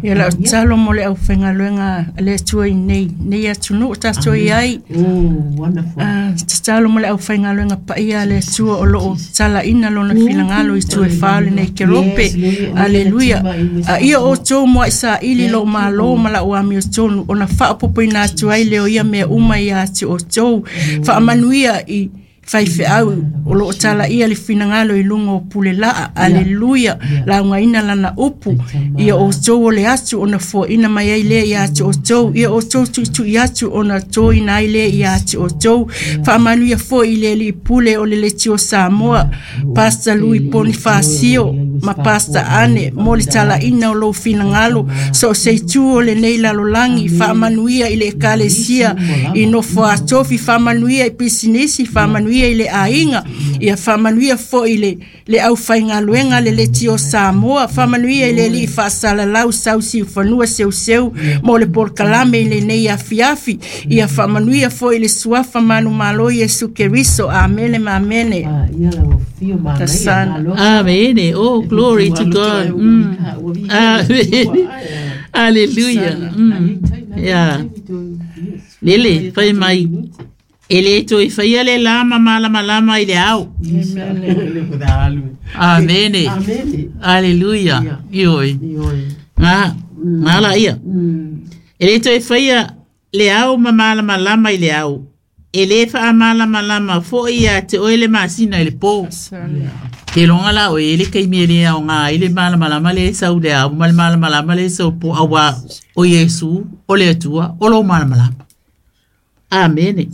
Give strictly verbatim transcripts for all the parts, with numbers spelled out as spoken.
Ia lau tatalo mo le aufaigaluega a le Atua i nei nei atunuu tatou i ai. Oh, wonderful. Ah, tatalo mo le aufaigaluega paia a le Atua o loo talaina lona finagalo i itu e fa o lenei kelope. Aleluia. A ia outou mo ai saili lou malo ma lau amiotonu ona faaopoopoina atu ai lea o ia mea uma ia te outou. Faamanuia i faifeau o loo talaia le finagalo i luga o pule laa. Aleluia. Laugaina lana upu ia outou o le atu ona foaina mai ai lea ia te outou. Ia outou tuitui atu ona toina ai lea ia te outou. Faamanuia foi i le alii pule o le Leitio Samoa, Pastor Lui Ponifasio ma Pastor Ane, mo le talaina o lou finagalo so o se itu o lenei lalolagi. Faamanuia i le ekalesia i nofo atofi, faamanuia i pisinisi, faamanuia i le aiga, ia faamanuia foi i le le aufaigaluega le Leitio Samoa. Faamanuia i le alii faasalalau Sausiufanua Seuseu mo le polokalame i lenei afiafi. Ia faamanuia foi i le suafa manumalo Iesu Keriso. Amene ma amene. Ah, ia lau afio manaia. Tasana. Malo. Amen. Oh, glory to God. Mm. Amen. Hallelujah. Mm. Yeah. Lele, fai mai. E le toe faia le la ma malamalama i le ao. Amene. Amene. Hallelujah. Ioi. Ioe. Ngā, ngā la ia. Mm. E le toe faia le ao ma malamalama i le ao. E le faamalamalama foi ia te oe le masina i le pō. Te longa la o e le kaimi e le ao ngā i le malamalama le sau le ao ma le malamalama le sau po awa o Iesu o le Atua o lo malamalama. Amene.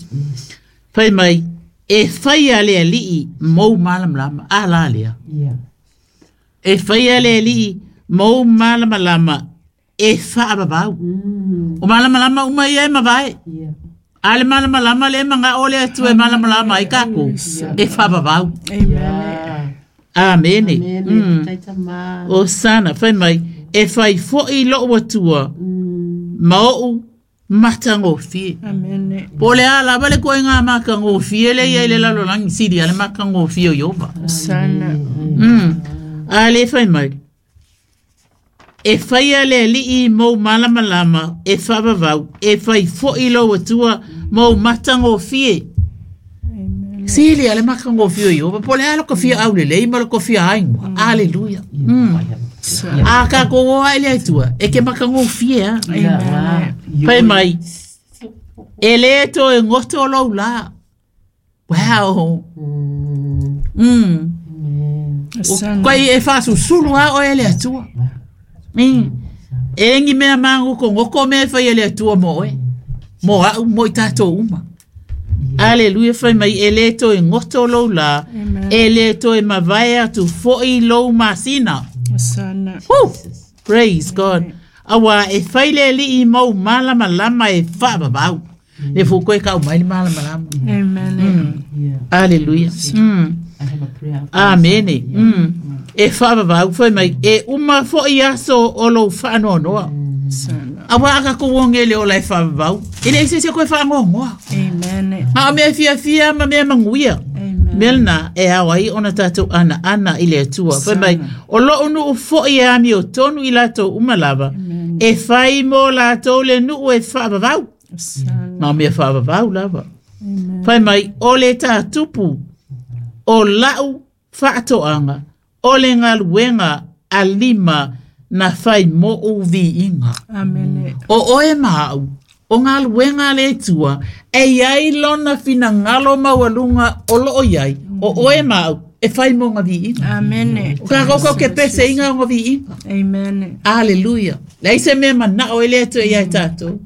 Fai mai, e whai a le alii mou malamalama. A la lea. Yeah. E whai a le alii mou malamalama e whaababau. Mm. O malamalama uma ia e mavae. Yeah. A le malamalama le manga o le Atua e malamalama ai kako. E whaababau. Amen. Amene. Amene. Mm. Taitama. O sana, whai mai, e whai foi loo atua, Mm. ma ou matagofie. Amene. Po le a lava le koe ngā makagofie le ia i le lalolagi sili a le makagofie o Ieova. Sana. Mm. A le whai mai. E whai a le alii mou malamalama, e whaavavau, e whai foi lou atua, mou matagofie. Amen. Sili a le makagofie o Ieova, po le a lo kofia au le lei ma lo kofia aingoa. Aleluia. Mm. Sana. A ka ko oa i le Atua, e ke makagofie a. Yeah. Fai mai, e le toe goto lou la. Wow. Mm. Mm. Amen. Sana. Koe e whaasusulu a o e le Atua. Mm. E ngi mea mangoko ngoko mea whai e le Atua mo oe. Mo au, mo i tātou uma. Aleluia, fai mai, e le toe goto lou la. Amen. E le toe mavae atu foi lou masina. Sana. Woo! Praise God. Awa e whai le alii mau malamalama e whaababau. Le fuko e kau mai le malamalama. Amen. Yeah. Hallelujah. Mm. I have a prayer. Amene. Mm. E whaababau whai mai e uma foi aso o lou whaanoanoa. Sana. Awa aka ko wongele o lai whaababau. E le ese se koe whaangoangoa. Amen. Ma o mea fia fia ma mea manguia. Amen. Melna e ao ai ona tātou ana ana i le Atua. Fai mai, o loo nuu foi e ami o tonu i lātou uma lava. Amen. E whai mo lātou le nuu e whaavavau. Sana. Ma o mea whaavavau lava. Amen. Fai mai, o le tātupu, o lau whaatoanga, o le ngaluenga a lima na whai mo u viinga. Amen. O oe maau, o ngaluenga a le Atua, e iai lona finagalo maualuga o loo iai, o oe maau, e whai mo ngā viinga. Amen. O ka kau ke pese inga o ngā viinga. Amen. Hallelujah. Leai se mea manao e le Atua ia i tātou.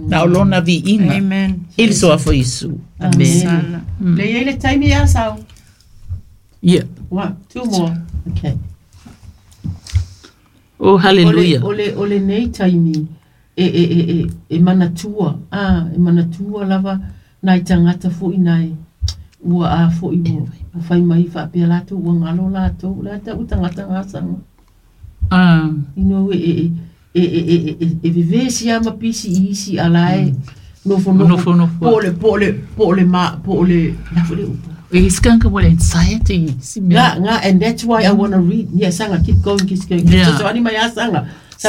Na o lona viinga. Amen. I le soafo Iesu. Amen. Sana. Le iai le taimi ia sau. Yeah. One, two more. Okay. Oh, hallelujah. O le, o le, o le nei taimi e, e, e, e, e manatua, ah, e manatua lava nai tangata foi nai ua a foi ua ua fai mai faapea latou ua galo latou le a ta'u tagata gasaga. Ah. You know, e e e e e e e vevesi a ma pisi i isi alae nofonofo Nofonofo. po o le po o le po o le ma po o le la foi le upu. E skanka mo le anxiety. Si mea. Nga, nga, and that's why I want to read. Yeah, sanga, keep going, keep going. Yeah. So, so, ani mai a sanga.